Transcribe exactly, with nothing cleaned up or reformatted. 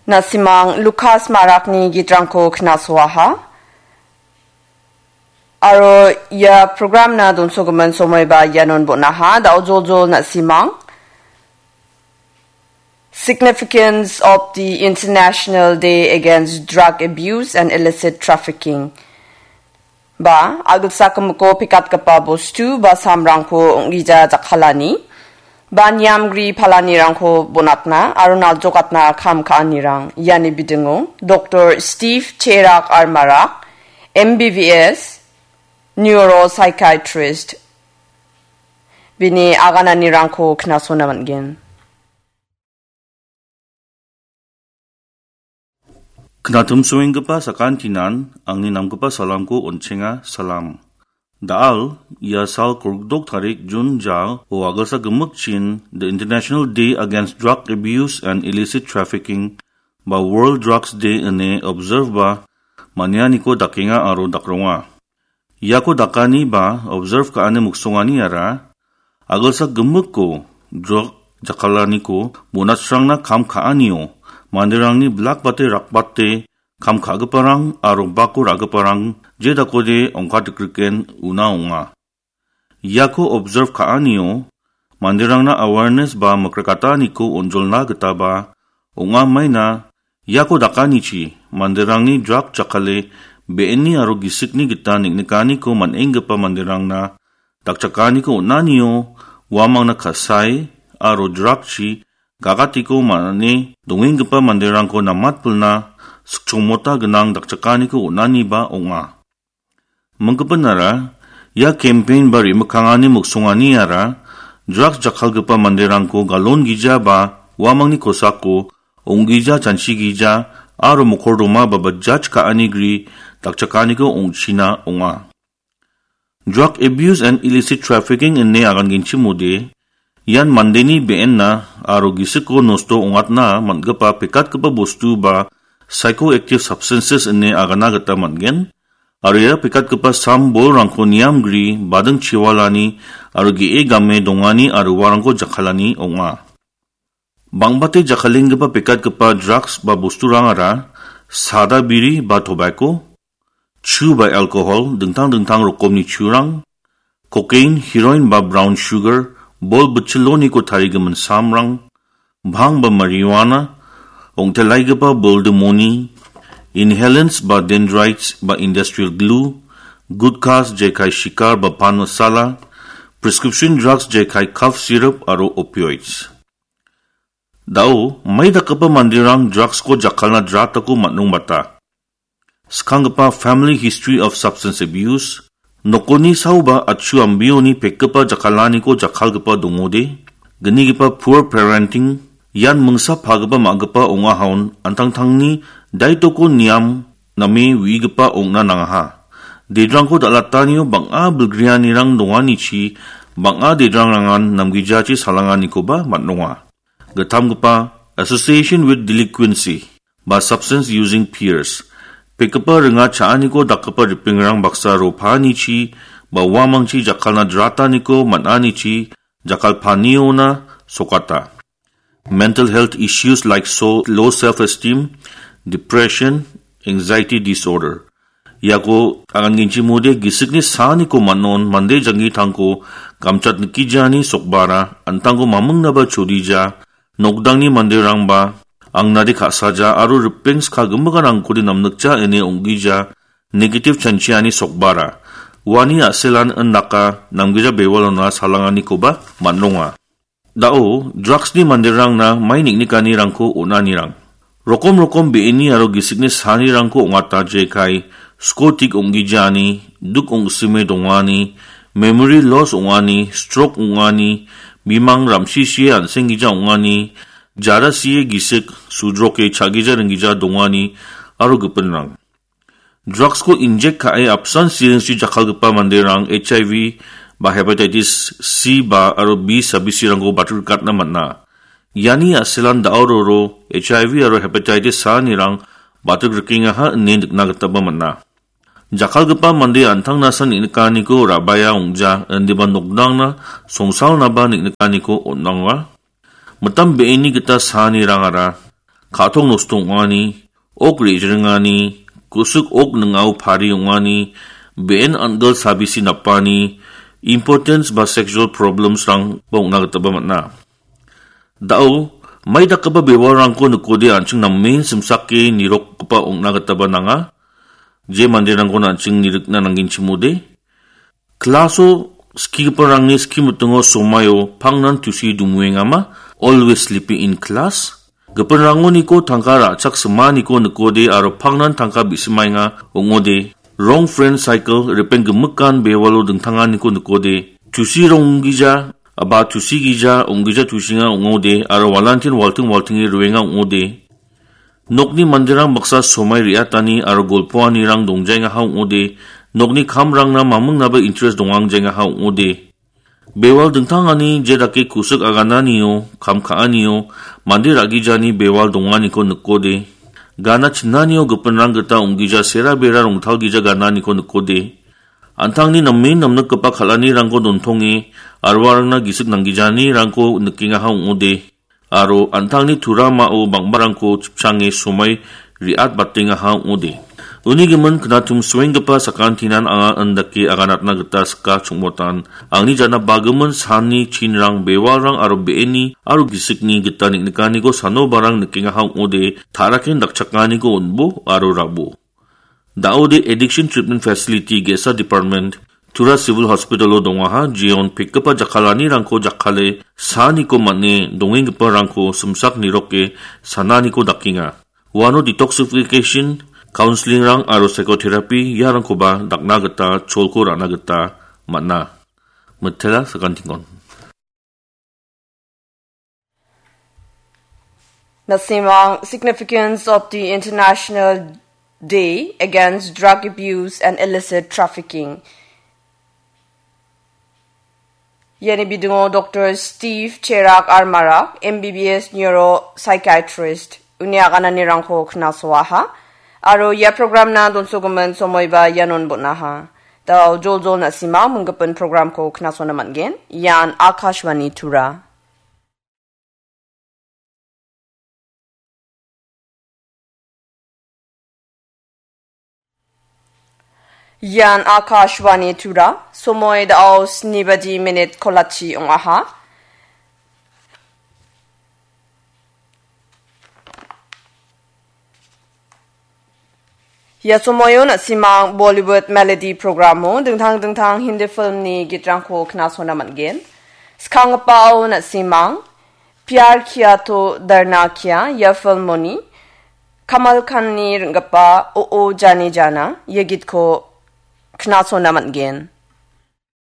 Na·simang Lukas Marakni gitrangko knasoaha. Aro ia programna donsogimin somoiba ianon bon·aha. Da·o joljol na·simang. Significance of the International Day Against Drug Abuse and Illicit Trafficking. Ba, agilsak gimikko pekatgipa bostu ba samrangko ong·gija jakkalani, ba niamgri palanirangko bonatna aro naljokatna kam ka·anirang iani bidingo Doktor Steve Cherak Armarak, M B B S, Neuropsychiatrist, bini agananirangko knasona man·gen. Knatimsoenggipa sakantinan angni namgipa salamko on·chenga, salam. Da·al, ia sal kolgdok tarik Jun jal o agilsa gimikchin The International Day Against Drug Abuse and Illicit Trafficking ba World Drugs Day ine observe ba manianiko dakenga aro dakronga. Iako dakani ba observe ka·ani miksonganiara agilsa gimikko drug jakkalaniko bonachranna kam ka·anio manderangni blakbate rakbate kam ka·giparang aro bako ra·giparang je dakode ongkatikriken una ong·a. Iako observe ka·anio manderangna awareness ba mikrakataniko onjolna gitaba ong·a maina iako dakanichi manderangni drug jakkale be·enni aro gisikni gita neng·nikaniko man·enggipa manderangna dakchakaniko on·anio uamangna ka·sae aro drugchi gagatiko man·e dongenggipa manderangko namatpilna sikchongmota gnang dakchakaniko on·aniba ong·a. Minggipanara, ia campaign ba re·mikkangani miksonganiara drugs jakkalgipa manderangko galon gija ba uamangni kosako ong·gija, chanchi gija aro mokordoma ba bajaj ka·ani gri dakchakaniko ong·china ong·a. Drug abuse and illicit trafficking ine agangenchimode, ian mandeni be·enna aro gisiko nosto ong·atna man·gipa pekatgipa bostu ba psychoactive substances ine agana gita man·gen. Aro ia pekatgipa sam bolrangko niamgri, bading chiwalani aro ge·e game dongani aro uarangko jakkalani ong·a. Bang·bate jakkalenggipa pekatgipa drugs ba bosturangara sada biri ba tobacco, chu ba alcohol, dingtang dingtang rokomni churang, cocaine, heroin ba brown sugar, bol bitchiloniko tarigimin samrang, bhang ba marijuana, ong·telaigipa boldimoni, inhalants ba dendrites ba industrial glue, gutkhas jekai sikar ba pan masala, prescription drugs jekai cough syrup aro opioids. Da·o, mai dakgipa manderang drugsko jakkalna dratako man·rongbata. Skanggipa family history of substance abuse, nokoni saoba atchu ambioni pekgipa jakkalaniko jakkalgipa dongode, gnigipa poor parenting, ian mingsa pagipa ma·gipa ong·ahaon antangtangni daitoko niam name uigipa ong·na nangaha. Dedrangko dal·atanio bang·a bilgrianirang donganichi bang·a dedrangrangan namgijachi salanganikoba man·ronga. Gittamgipa association with delinquency ba substance using peers. Pekgipa ringa cha·aniko dakgipa ripengrang baksa ro paanichi ba uamangchi jakkalna drataniko man·anichi jakkalpaniona sokata. Mental health issues like so, low self-esteem, depression, anxiety disorder. Iako agangenchimode gisikni saaniko man·on mande janggitangko gamchat nikgijani sokbara, antangko mamingnaba chodija, nokdangni manderangba angnade ka·saja aro ripeng ska gimikanrangkode namnikja ine ong·gija, negative chanchiani sokbara. Uani a·selan indaka namgija bewalona salanganikoba man·ronga. Da·o, drugsni manderangna mai neng·nikanirangko on·anirang. Rokom rokom be·eni aro gisikni saanirangko ong·ata jekai, skotik ong·gijani, duk ong·sime dongani, memory loss ong·ani, stroke ong·ani, bimang ram·sisie an·senggija ong·ani, jara sie gisik, sudroke cha·gija ringgija dongani, aro gipinrang. Drugsko inject ka·e apsan siringchi jakkalgipa manderang H I V ba hepatitis C ba aro B sabisirangko batirikatna man·a. Iani a·selan da·o roro H I V aro hepatitis saanirang batik rikengaha ine nikna gitaba man·a. Jakkalgipa mande an·tangna san neng·nikaniko ra·baia ong·ja, indiba nokdangna songsalnaba neng·nikaniko on·anga. Mitam be·eni gita saanirangara ka·tong nosto ong·ani, ok re·jringani, kusik ok ning·ao pari ong·ani, be·en an·gil sabisi napani, impotence ba sexual problems-rangba ong·na gitaba man·a. Da·o, mai dakgipa bewalrangko nikode an·ching namen simsake nirokgipa ong·na gitaba nanga. Je manderangkon an·ching nirikna nanggenchimode. Klaso skigiparangni ski mitingo somaio pangnan tusi dumuengama, always sleeping in class. Gipinrangoniko tangka ra·chak simaniko nikode aro pangnan tangka bi·simaenga ong·ode. Wrong friend cycle, ripeng gimikan bewalo dingtanganiko nikode. Tusi ronggija, aba tusi gija, ong·gija tusinga ong·ode, aro walantin walting waltinge roenga ong·ode. Nokni manderang baksa somai re·atani aro golpoanirang dongjaengaha ong·ode, nokni kamrangna mamingnaba interest dongangjaiengaha ong·ode. Bewal dingtangani je dake kusik agananio, kam ka·anio, mande ra·gijani bewal donganiko nikode. Gana chinanio gipinrang gita ong·gija sera bera rongtalgija gananiko nikode. An·tangni namen namnikgipa kal·anirangko dontonge, aro uarangna gisik nanggijanirangko nikengaha ong·ode. Aro an·tangni turamao bang·barangko chipchange somai re·atbatengaha ong·ode. Uni gimin knatum suenggipa sakantinan anga indake aganatna gita sika chongmotan. Angni jana bagimin sanni chinrang bewalrang aro be·eni aro gisikni gita neng·nikaniko sanobarang nikengaha ong·ode, ta·raken dakchakaniko on·bo aro rabo. Da·ode Addiction Treatment Facility ge·sa department, Tura Civil Hospital-o dongaha, jeon pekgipa jakkalanirangko jakkale, saniko man·e dongenggiparangko simsak niroke sananiko dakenga. Uano detoxification, counseling-rang aro psychotherapy iarangkoba dakna gita cholko ra·na gita man·a. Mitela sakantikon. Nasimang, significance of the International Day Against Drug Abuse and Illicit Trafficking. Iani bidingo Doctor Steve Cherak Armara, M B B S neuropsychiatrist, uni agananirangko knasoaha. Aro ia programna donsogimin somoiba ianon bon·aha. Da·o joljol nasimang, minggipin programko knasona man·gen. Ian Akashvani Tura. Ian Akashvani Tura, somoi da·o sni baji minit kolachi ong·aha. Ia somoio nasimang Bollywood Melody programo dingtang dingtang Hindi filmni gitrangko knasona man·gen. Skanggipao nasimang Pyar Kiya To Darna Kya ia filmoni Kamal Khanni ring·gipa O O Jani Jana ia gitko knasona man·gen.